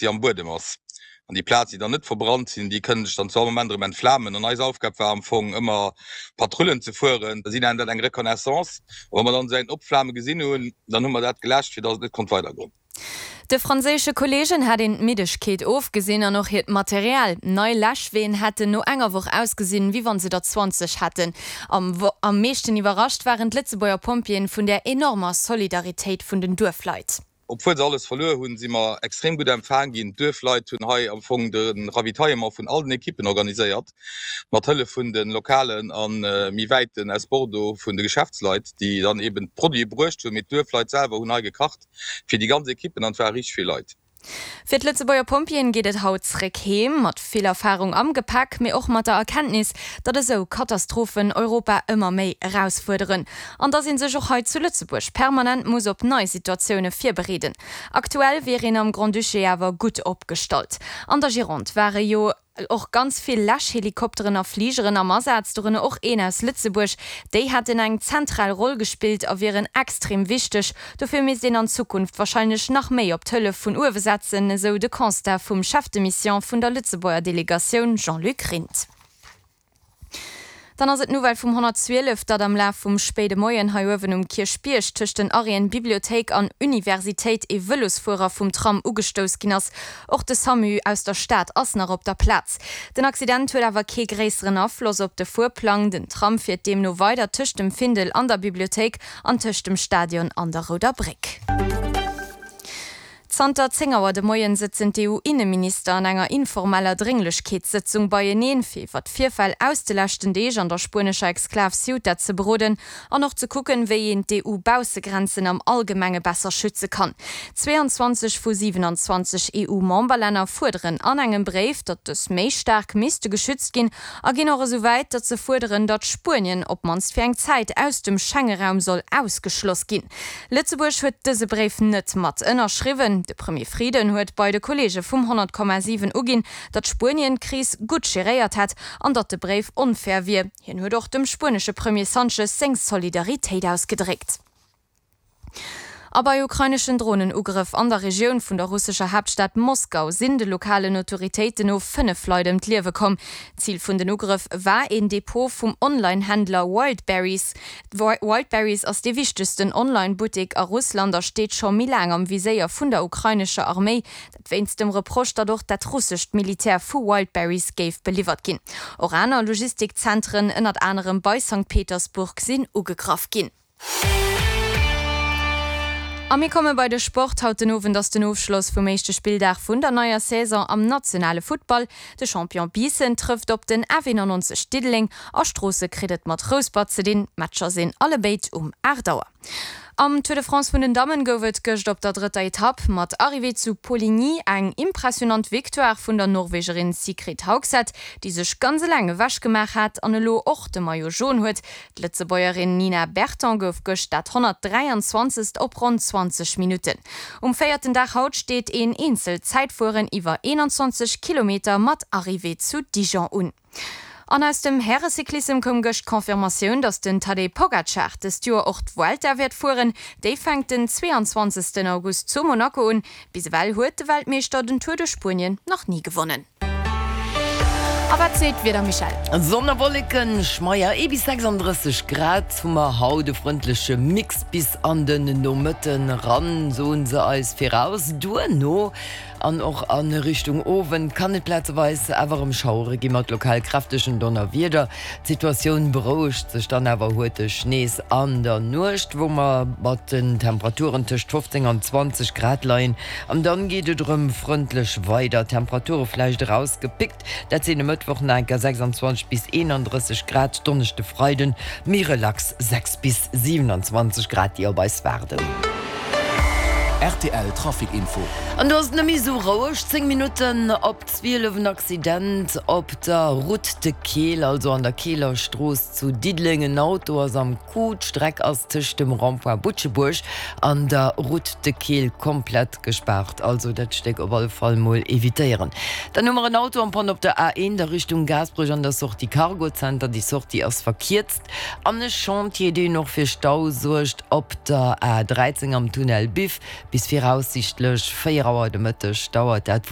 déi am Buedem ass. An déi Plaz, déi dann net verbrannt sinn, déi kënnen sech dann zu all Moment erëm entflamen. An eis Aufgab war am Fong ëmmer Patrullen ze fueren. Si nennen dat eng Reconnaissance. A wa mer dann esou eng Opflame gesinn hunn, dann hu mer dat geläscht, fir datt et net konnt weidergoen. De franséische Kolleegen hat een d'Middegkeet ofgesinn an och hiert Material. Nei Läschween hätten no enger Woch ausgesinn, wéi wann se der 20 hätten. Am am meeschten iwwerrascht waren d'Lëtzebuerger Pompjeeën vun där enormer Solidaritéit vun den Duerfleit. Obwuel se alles verluer hunn, si mer extrem gutt empfaang ginn. D'Duerfleit hunn hei am Fong de Ravitaillement vun all den Ekippen organiséiert, mat Hëllef vun de lokalen a méi wäiten aus Bordeaux vun de Geschäftsleit, déi dann eben d'Produite bruecht hunn. Mee d'Duerfleit selwer hunn hei gekacht fir déi ganz Ekippen an et ware richteg vill Leit. Fir d'Lëtzebuerger Pompjeeën geet et haut zréck heem, mat vill Erfarung am Gepäck, mee och mat der Erkenntnis, datt esou Katastrophen Europa ëmmer méi erausfuerderen an datt ee sech och hei zu Lëtzebuerg permanent muss op nei Situatioune virbereeden. Aktuell wier een am Grand-Duché awer gutt opgestallt. An der Gironde ware jo Och ganz vill Läschhelikopteren a Fligeren am Asaz, dorënner och een aus Lëtzebuerg. Déi hätten eng zentral Roll gespillt a wieren extrem wichteg. Dofir misst een an Zukunft warscheinlech nach méi op d'Hëllef vun uewe setzen, esou de Constat vum Chef de Mission vun der Lëtzebuerger Delegatioun Jean-Luc Rindt. Dann ass et d'Nouvelle vum 112, datt am Laf vum spéide Moien hei uewen um Kierchbierg tëscht den Arrêten Bibliothéik an Universitéit ee Vëlosfuerer vum Tram ugestouss ginn ass. Och de Samu aus der Stad ass nach op der Plaz. Den Accident huet awer kee gréisseren Afloss op de Fuerplang. Den Tram fiert deemno weider tëscht dem Findel an der Bibliothéik an tëscht dem Stadion an der Rouder Bréck. Zanter 10 Auer de Moien sëtzen d'EU-Inneminister an enger informeller Drénglechkeetssëtzung beieneen, fir iwwer d'Virfäll aus de leschten Deeg an der spuenescher Exklav Ceuta ze beroden an och ze kucken, wéi een d'EU-Baussegrenzen am Allgemenge besser schütze kann. 22 vu 27 EU-Memberlänner fuerderen an engem Bréif, datt dës méi staark misste geschützt ginn a ginn och esou wäit, datt se fuerderen, datt Spuenien op d'mannst fir eng Zäit aus dem Schengeraum soll ausgeschloss ginn. Lëtzebuerg huet dëse Bréif net mat ënnerschriwwen. De Premier Frieden huet bei de Kolleege vum 100,7 uginn, datt Spuenien d'Kris gutt geréiert hätt an datt de Bréif onfair wier. Hien huet och dem spuenesche Premier Sanchez seng Solidaritéit ausgedréckt. A bei ukraineschen Dronenugrëff an der Regioun vun der russescher Haaptstad Moskau sinn de lokalen Autoritéiten no 5 Leit ëm d'Liewe komm. Zil vun den Ugrëff war een Depot vum Online-Händler Wildberries. Wildberries ass dee wichtegsten Online-Buttek a Russland a steet scho méi laang am Viséier vun der ukrainescher Arméi. Dat wéinst dem Reproche, datt och dat russescht Militär vu Wildberries géif beliwwert ginn. Och aner Logistikzentren, ënnert anerem bei Sankt Petersburg, sinn ugegraff ginn. A mir komme bei de Sport. Haut den Owend ass den Ofschloss vum éischte Spilldag vun der neier Saison am nationale Futtball. De Champion Biissen trëfft op den F91 Diddeleng a Stroosse kritt et mat Rouspert ze dinn. D'Matcher sinn allebéid um 8 Auer. Am Tour de France vun den Dammen gouf et gëscht op der drëtter Etapp mat Arrivée zu Poligny eng impressionant Victoire vun der Norwegerin Sigrid Haugset, déi sech ganz eleng ewech gemaach hat an elo och de Maillot Jaune huet. D'Lëtzebuergerin Nina Berton gouf gëscht dat 123. op ronn 20 Minutten. Um véierten Dag haut steet een Eenzelzäitfueren iwwer 21 Kilometer mat Arrivée zu Dijon un. An aus dem Härecyclissem koum gëscht d'Confirmatioun, datt den Tadej Pogacar dëst Joer och d'Vuelta wäert fueren. Déi fänkt den 22 August zu Monaco un. Bis ewell huet de Weltmeeschter den Tour de Spuenien nach ni gewonnen. A wat seet d'Wieder Michèle? Sonn a Wolleken, schmeier ee bis 36 Grad hu mer haut, e frëndleche Mix bis an den Nomëtten ran, soen se eis viraus. Duerno an och a Richtung Owend kann et plazeweis awer erëm Schauere gi mat lokal kräftegen Donnerwieder. D'Situatioun berouegt sech dann awer huerteg nees an der Nuecht, wou mer mat den Temperaturen tëscht 15 an 20 Grad leien. An dann geet et erëm frëndlech weider, Temperature vläicht erausgepickt, dat sinn e Mëttwoch nach enker 26 bis 31 Grad, Donneschde, Freiden méi relax 6 bis 27 Grad, déi op eis waarden. Rtl Trafic Info. An do ass et net méi esou roueg, 10 Minutten op 12, en Accident op der Route de Keel, also an der Keeler Strooss zu Diddeleng. En Auto ass am Coup, d'Streck ass tëscht dem Rond-point Butschebuerg an der Route de Keel komplett gespaart, also dat Stéck op alle Fall mol evitéieren. Dann hu mer en Auto en panne op der A1 a Richtung Gaasperech an der Sortie Cargocenter, déi Sortie ass verkierzt. An e Chantier, deen och fir Stau suergt op der A13 am Tunnel Biff. Bis viraussiichtlech 4 Auer de Mëtteg dauert dat.